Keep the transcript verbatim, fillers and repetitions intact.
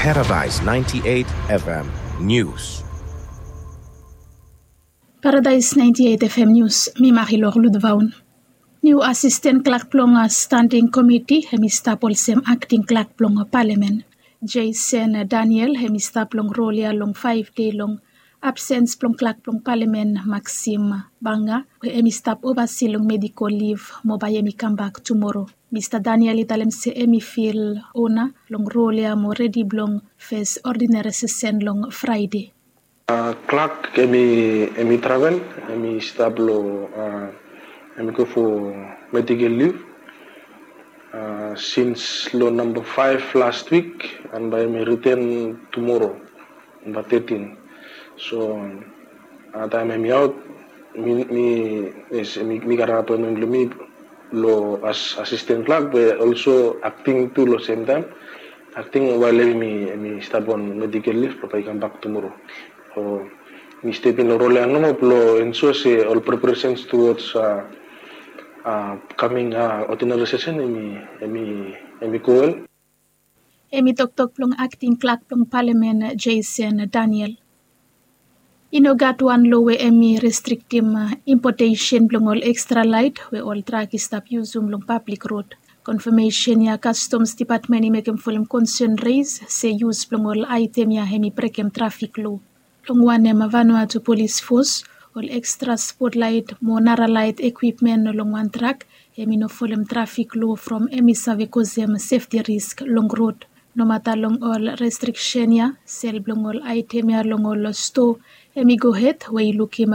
Paradise ninety-eight F M News. Paradise ninety-eight F M News, mi Marilor Ludvaun. Niu asisten klak blong standing komiti hem i stap olsem akting klak blong palamen. Jason Daniel hem i stap long rol ya long faev dei long absens blong klak blong palamen Maxim Banga we hem i stap ovasi long medikol liv mo bae hem i kambak tumoro. Mista Daniel i talem se hem i fil ona long rol ya mo redi blong fes odinere sesen long Fraede. Klak hem i travel, hem i stap long, hem i go fo medikol liv sins long namba faev last wik, and bae hem i riten tumoro, namba tetin. So taem hem i aot, mi mi yes mi gat apoentmen blong mi long as asisten klak be olso akting tu long semtaem. Akting wael hem i stap on medikol liv blong bae i kambak tumoro. So mi step in long rol ya nomo blong ensua se ol preparasens tuwods kaming odinere sesen hem i go wel. Hem i toktok blong akting klak blong palamen Jason Daniel. I no gat wan lo we hem i restriktim impotesen blong ol ekstra laet we ol trak i stap yusum long pablik rod. Konfamesen ya kastoms depatmen i mekem folem konsen res se yus blong ol aetem ya hem i brekem trafik lo. Long wanem, Vanuatu Polis Fos, ol ekstra spotlaet mo naralaet ekwipmen long wan trak hem i no folem trafik lo from hem i save kosem sefti risk long rod. Nomata long ol restriksen ya, sel blong ol aetem ya long ol stoa hem i gohed we i lukim